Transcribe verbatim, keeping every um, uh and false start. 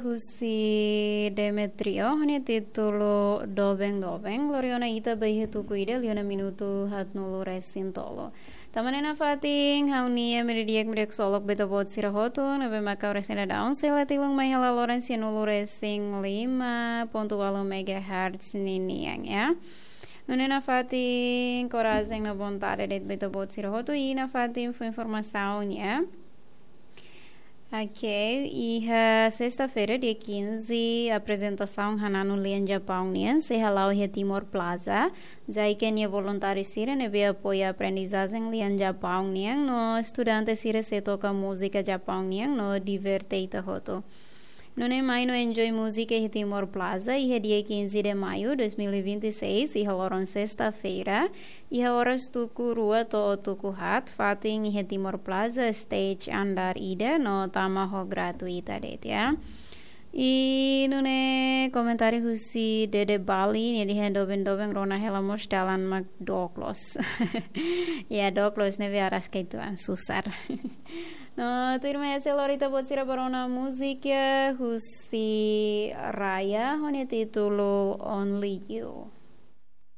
Husi Demetrio, ho nia títulu Doben Doben, lori ona ita ba iha tuku ida, liu ona minutu haatnulu resin tolu. Tanba ne'e nafatin, ha'u-nia ema di'ak, ema di'ak ksolok ba ita-boot sira hotu, ne'ebé mak ha'u resin daudaun sei la tilun mai hela loron sianulu resin lima pontu ualu megahertz ninian, ya. Nune'e nafatin, korajen no vontade de'it ba ita-boot sira hotu, i nafatin fó informasaun, ya. Ok, iha sesta-feira, dia quinze, aprezentasaun hananu lian Japaun nian sei hala'o iha Timor Plaza. Jaike nia voluntáriu sira ne'ebé apoia aprendizajen lian Japaun nian no estudante sira sei toka múzika Japaun nian no diverte ita hotu. Nune'e mai no enjoy múzika iha Timor Plaza iha dia quinze de maio dois mil e vinte e seis, iha loron sesta-feira, iha oras tuku rua to'o tuku haat, fatin iha Timor Plaza, stage andár ida, no tama ho gratuita de'it, ya. I nune'e komentáriu husi Dede Bali, nia dehan doben-doben rona hela mós dalan mak dook loos. Ya, dook loos ne'ebé araska uitoan, susar. No, tuirmai hanesan lori ita-boot sira ba rona múzika husi Raya, ho nia títulu Only You.